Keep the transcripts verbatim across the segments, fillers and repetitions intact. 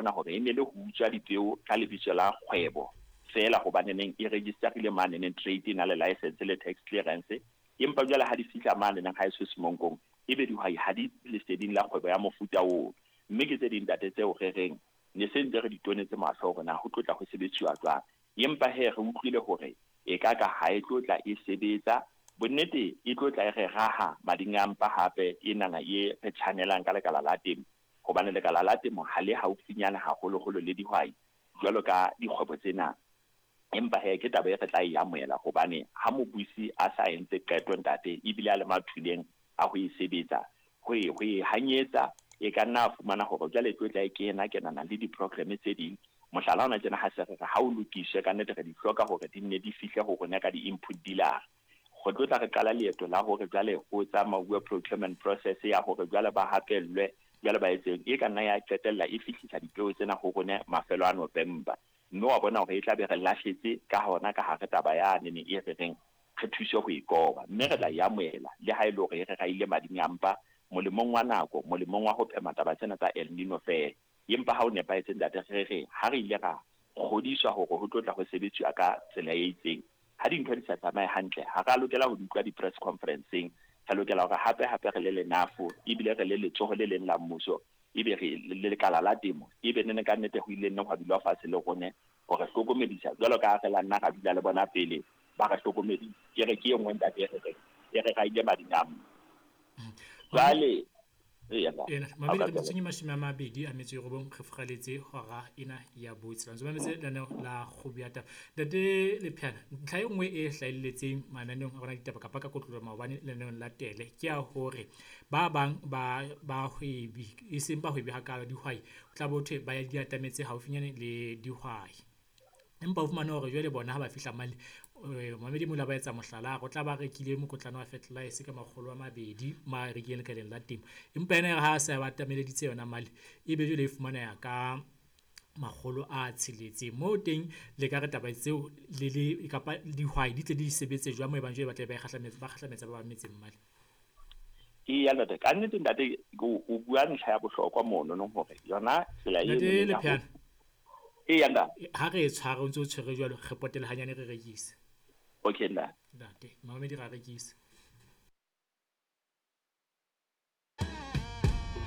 bona hore e ne le ho utswa dipeo ka lebitso la kgwebo feela, hobaneneng e registerile maneneng trade, e na le license le tax clearance, empa jwale ha di fihla maneneng ha e so semonkong, ebe dihwai ha di leseding la kgwebo ya mofuta oo. Mme ke tse ding, ntate, tseo re reng ne se ntse re di tonetse mahlo hore na ho tlo tla ho sebetsiwa jwang. Empa he, re utlwile hore e ka ka ha e tlo tla e sebetsa bonnete, e tlo tla e re raha mading a mpa hape e nana e re tjhanelang ka lekala la temo, hobane lekala la temo ha le haufinyana haholoholo le dihwai jwalo ka dikgwebo tsena. Empa he, ke taba e re tla e amohela, hobane ha mobusi a sa entse qeto, ntate, ebile a le mathuleng a ho e sebetsa, ho e ho e hanyetsa e ka nna a fumana hore jwale e tlo tla e kena kenana le di-program tse ding. Mohlala ona tjena, ha se re re ha o lokiswe, ka nnete re di hloka hore di nne di fihle ho rona ka di-input dealer. Re tlo tla re qala leeto la hore jwale ho tsamauwe procurement process ya hore jwale ba hapellwe, jwale ba etseng, e ka nna ya qetella e fihlisa dipeo tsena ho rona mafelo a November, mme wa bona hore e tla be re lahletse ka hona ka hare taba ya nene e re reng re thuse ho e koba. Mme re tla e amohela le ha e le hore e re raile mading a mpa, molemong wa nako, molemong wa ho phema taba tsena tsa El Nino fela. Empa ha o nepahetse, ntate, re re ha re ile ra kgodiswa hore ho tlo tla ho sebetsiwa ka tsela e itseng, ha dintho di sa tsamaye hantle, ha re a lokela ho di utlwa di-press conferenceng. Re lokela hore hape hape re le lenafo, ebile re le letsoho le leng la mmuso, ebe re le lekala la temo, ebe nene ka nnete ho ile nne hwa dulwa fatshe le rone hore hlokomedisa, jwalo ka ha re la nna ra dula le bona pele ba re hlokomedisa. Ke re ke e nngwe, ntate, e re reng e re raile mading a mpa jwale. Eya. Ena mamedi, re metsotsong e mashome a mabedi a metso e robong re furaletse hora ena ya botshela. Ntse mametse lenaneo la Kgobo ya Taba. Ntate Lepheana, ntlha e nngwe e hlahelletseng mananeong a rona ditaba kapa ka kotloloho maobane lenaneong la tele ke ya hore ba bang ba bahwebi, e seng bahwebi hakalo, dihwai, ho tla bo thwe ba di atametse haufinyane le dihwai, empa o fumane hore jwale bona ha ba fihla mane, mamedi mola ba etsa mohlala, o tla ba rekile mokotlana wa fertilizer ka makgolo a mabedi ma rekileng lekaleng la temo, empa ena ha a se ba atameleditse yona male, ebe jwale e fumaneha ka makgolo a tsheletseng. Moo teng le ka re taba tseo le le kapa dihwai di tle di sebetse jwang moo ebang jwale ba tlabe ba kgahlametsa ba kgahlametsa ba bang metseng male? Eya ntate, ka nnete ntate, o bua ntlha ya bohlokwa mono nong hore yona tsela Ntate eno ya ho Lepheana, eya ntate. Ha re e tshware o ntse o tshwere jwalo, re potele hanyane re rekise. Okay ntate. Ntate mamedi, ra rekisa.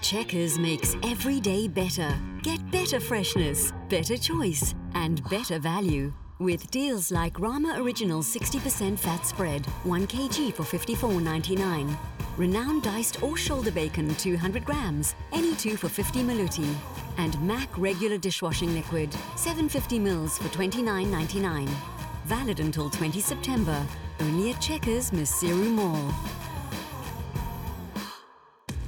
Checkers makes every day better. Get better freshness, better choice, and better value. With deals like Rama Original sixty percent fat spread, one kilogram for fifty-four ninety-nine. Renowned diced or shoulder bacon two hundred grams, any two for fifty maluti. And Mac regular dishwashing liquid, seven hundred fifty mils for twenty-nine ninety-nine. Valid until twenty September. Only at Checkers Maseru Mall.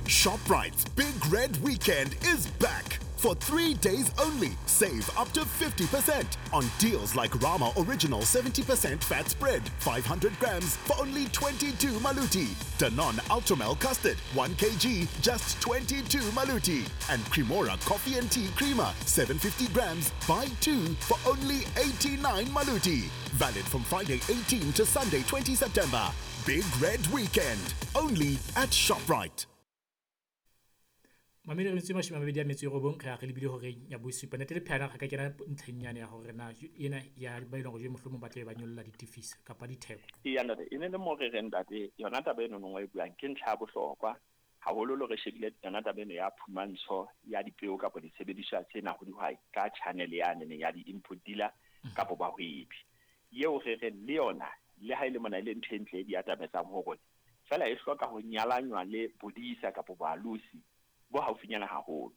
ShopRite's Big Red Weekend is back. For three days only, save up to fifty percent on deals like Rama Original seventy percent fat spread, five hundred grams for only twenty-two maluti. Danone Ultramel Custard, one kilogram, just twenty-two maluti. And Cremora Coffee and Tea Creamer, seven hundred fifty grams, buy two for only eighty-nine maluti. Valid from Friday eighteen to Sunday twenty September. Big Red Weekend, only at ShopRite. Mamedi, re metso e mashome a mabedi a metso e robong re ya re lebile horeng ya bosupa. Ntate Lepheana, re ka kena ntlheng yane ya hore na ena ya ba eleng hore jwe mohlomong ba tlabe ba nyolla ditefiso kapa ditheko. Eya ntate, e ne le mo re reng, ntate, yona taba eno nngwe e buang ke ntlha ya bohlokwa haholoholo. Re shebile yona taba eno ya phumantsho ya dipeo kapa disebediswa tsena ho dihwai ka channel yane ya di-input dealer kapo bahwebi, eo re reng le yona le ha e le mona e le ntho e ntle e di atametsang ho rona, fela e hloka ho nyalanywa le bodisa kapo boalosi bo haufinyana haholo,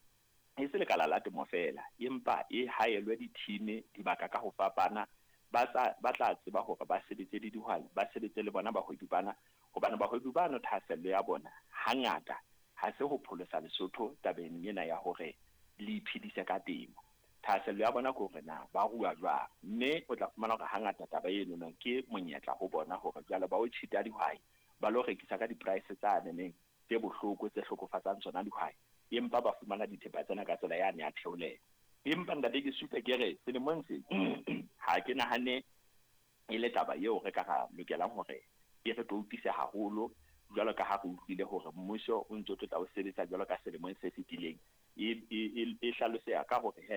e se lekala la temo fela, empa e haelwe di-team dibaka ka ho fapana ba tsa ba tla tseba hore ba sebetse le dihwai, ba sebetse le bona bahwebi bana, hobane bahwebi bano thahasello ya bona hangata ha se ho pholosa Lesotho tabeng ena ya hore le iphedise ka temo. Thahasello ya bona ke hore na ba rua jwang, mme o tla fumana hore hangata taba eno no ke monyetla ho bona hore jwale ba o cheat-a dihwai, ba lo rekisa ka di-price tsa neneng tse bohloko tse hlokofatsang tsona dihwai, empa ba fumana dithepa tsena ka tsela yane ya theolelo. Empa ntate, ke supe ke re selemong se ha ke nahane e le taba eo re ka ra lokelang hore e re toutise haholo, jwalo ka ha re utlwile hore mmuso o ntso tlo tla o sebetsa jwalo ka selemong se fetileng, e e e hlaloseha ka hore he